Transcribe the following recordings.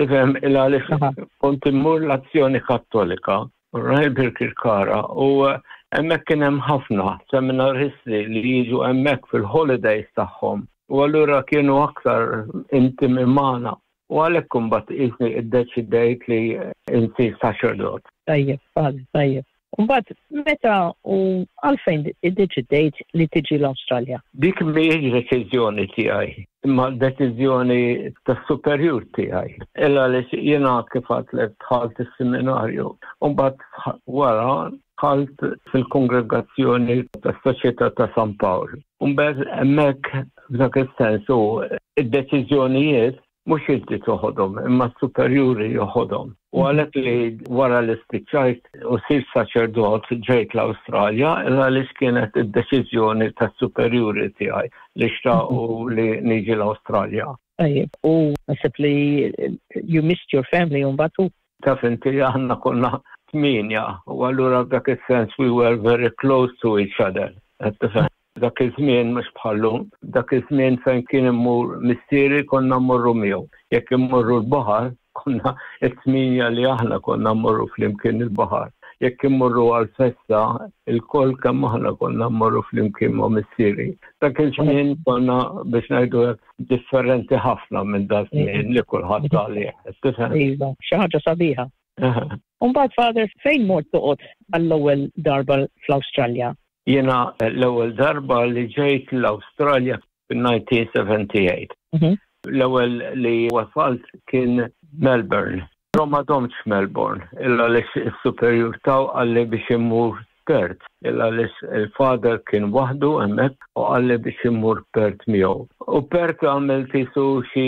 Tifhem, il għaliex kont immur l-Azzjoni Kattolika, right, Birkirkara, u hemmhekk kien hemm ħafna seminaristi li jiġu hemmhekk fil-holidays tagħhom. U allura kienu aktar intimi magħna. U għalhekk imbagħad qisni iddeċidejt li insir saċerdot. Tajjeb, tajjeb. Mbagħad meta u għalfejn iddeċidejt li tiġi l-Awstralja? Dik mhijiex deċiżjoni tiegħi, imma deċiżjoni tas-superjur tiegħi. Illa li jiena kif għedtlek dħalt is-seminarju. U mbagħad wara dħalt fil-kongregazzjoni tas-Soċjetà ta' San Pawl. U mbagħad hemmhekk f'dak is-sens u id-deċiżjonijiet mhux inti toħodhom, imma s-superjuri joħodhom. U għalhekk li wara li spiċċajt u sirt saċerdot ġejt l-Awstralja, għaliex kienet id-deċiżjoni tas-superjuri tiegħi li xtaqu li niġi l-Awstralja. Tajjeb, u naħseb li you missed your family u mbagħad Taf inti, aħna konna tmienja u allura f'dak is-sens we were very close to each other. Dak iż-żmien mhux bħallum, dak iż-żmien fejn kien immur missieri konna mmorru miegħu. Jekk immorru l-baħar, konna it-tmienja li aħna konna mmorru flimkien il-baħar. Jekk immorru għal-festa, il-koll kemm aħna konna mmorru flimkien ma' missieri. Dak iż-żmien konna, biex ngħidu hekk, differenti ħafna minn dak żmien li kulħadd għalih. Tifhem? Iva, xi ħaġa sabiħa. Mbagħad, Father, fejn mort toqgħod għall-ewwel darba fl-Awstralja? Jiena l-ewwel darba li ġejt l-Awstralja fil-1978. L-ewwel li wasalt kien Melbourne. Però ma domtx Melbourne, illa li s-superjur taw qalli biex immur Perth. Illa li il-father kien waħdu hemmhekk u qalli biex immur Perth miegħu. U Perth għamilt qisu xi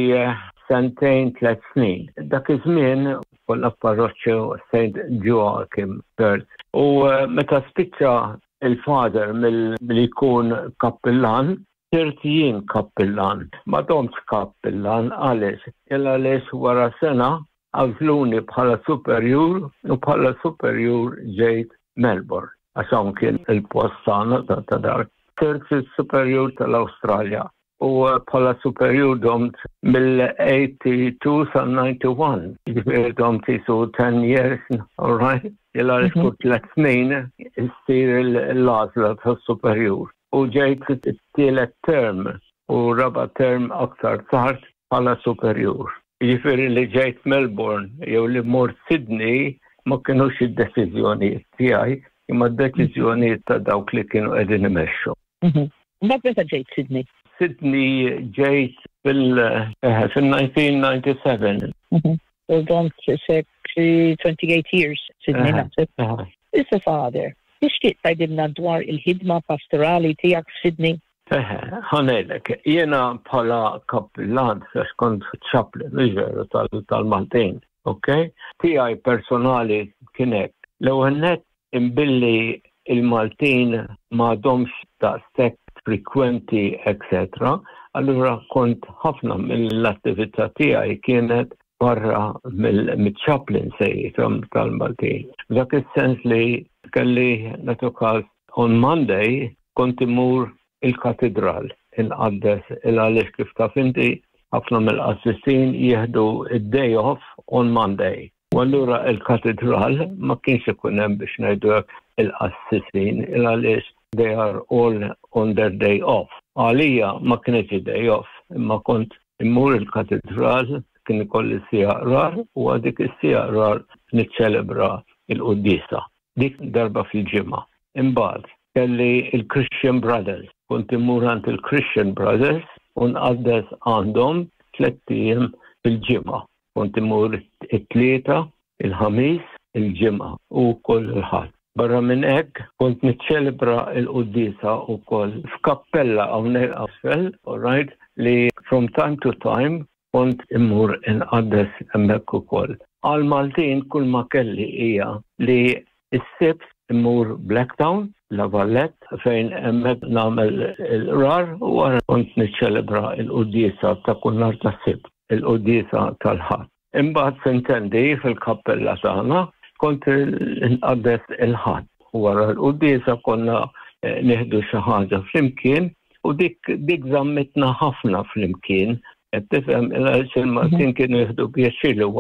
sentejn, 3 snin. Dak iż-żmien konna f'parroċċa St. Joachim, Perth. U meta spiċċa il-father mill-li jkun kappillan, sirt jien kappillan. Ma domtx kappillan. Għaliex? Illa għaliex wara sena għażluni bħala superjur u bħala superjur ġejt Melbourne. Għax hawn kien il-post tagħna ta' dar. Sirt il-superjur tal-Awstralja u bħala superjur domt mill-82 sa 91. Ġifieri domt qisu 10 years, all right? Illa mm -hmm. 3 snin issir l-għażla tas-superjur. U ġejt it-tielet term u raba term aktar tard bħala superjur. Ġifieri li ġejt Melbourne jew li mort Sydney ma kienux id-deċiżjonijiet tiegħi, imma d-deċiżjonijiet ta' dawk li kienu qegħdin imexxu. Mbagħad meta ġejt Sydney? Sydney ġejt fil-1997. U domt 28 years Sydney, naħseb. Issa, Father, tixtieq tgħidilna dwar il-ħidma pastorali tiegħek f'Sydney? Eħe, ħa ngħidlek, jiena bħala kappillan, għax kont chaplain, veru, tal-Maltin, ok? Tiegħi personali kien hekk. L-ewwel net, imbilli il-Maltin m'għadhomx daqshekk frekwenti, etc. Allura kont ħafna mill-attività tiegħi kienet barra mill-chaplaincy tal-Maltin. Dak is-sens li kelli nagħtu on Monday kont imur il-katedral inqaddes, il għaliex kif taf inti ħafna mill-qassisin jieħdu id-day off on Monday. U allura il-katedral ma kienx ikun hemm, biex ngħidu hekk, il-qassisin, il għaliex they are all on their day off. Għalija ma kienx day off, imma kont immur il-katedral, kien ikolli siegħa qrar u għadik is-siegħa qrar niċċelebra il-quddiesa. Dik darba fil-ġimgħa. Imbagħad kelli il-Christian Brothers. Kont immur għand il-Christian Brothers u nqaddes għandhom 3 ijiem fil-ġimgħa. Kont immur it-Tlieta, il-Ħamis, il-Ġimgħa u kull il-Ħadd. Barra minn hekk kont niċċelebra il-quddiesa wkoll f'kappella hawnhekk asfel, all right, li from time to time kont immur inqaddes hemmhekk ukoll. Għal Maltin kull ma kelli hija li s-Sibt immur Blacktown, La Vallette, fejn hemmhekk nagħmel il-qrar u wara kont niċċelebra il-quddiesa ta' kull nhar ta' Sibt, il-quddiesa tal-Ħadd. Imbagħad sintendi fil-kappella tagħna kont inqaddes il-Ħadd. Wara l-quddiesa konna nieħdu xi ħaġa flimkien u dik żammitna ħafna flimkien. Qed tifhem, il-Maltin kienu jieħdu pjaċir li